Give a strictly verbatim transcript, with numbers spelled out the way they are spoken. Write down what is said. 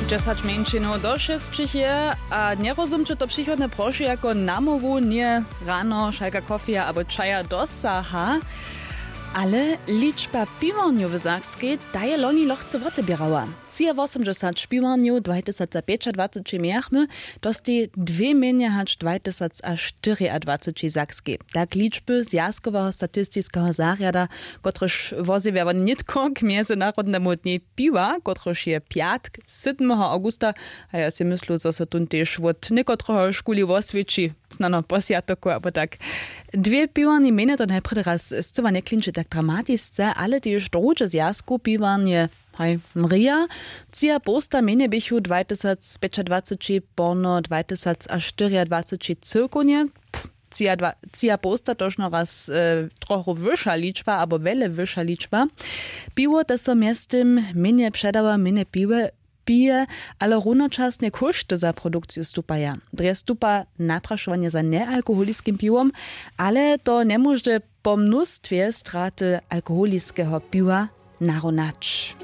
Dźesać mjeńšinow do šesćich je. A njerozumće to přichodne prošu jako namołwu njeje rano šalka kofija abo čaja dosaha. Ale ličba piwarnjow w sakskej, ta je loni lochce woteběrała. Třiawosomdźesać piwarnjow dwajtysacapjećadwaceći mějachmy, to stej dwě mjenje hač dwajtysacaštyriadwaceći w sakskej, tak ličby zwjazkoweho statistiskeho zarjada, kotryž wozjewja won nětko k mjezynarodnemu dnjej piwa, kotryž je pjatk sydmeho awgusta. A ja sej myslu, zo so tón tež wot někotrehož kuli woswěći, snano po swjatoku abo tak. Dwě piwarni mjenje to najprjedy raz scyła njeklinči tak dramatisce, ale tež druhdźe zwjazkow piwarnje, haj, mrija. Třiapołsta mjenje běchu dwajtysacpjećadwaceći porno dwajtysacaštyriadwaceći cyłkownje. Třiadwa třiapołsta tožno raz trochu wyša ličba abo wjele wyša ličba. Piwo te so mjeztym mjenje předawa, mjenje piwe pije, ale runočasnje kóšty za produkciju stupaja. Drje stupa naprašowanje za njealkoholiskim piwom, ale to njemóže po mnóstwje straty alkoholiskeho piwa narunać.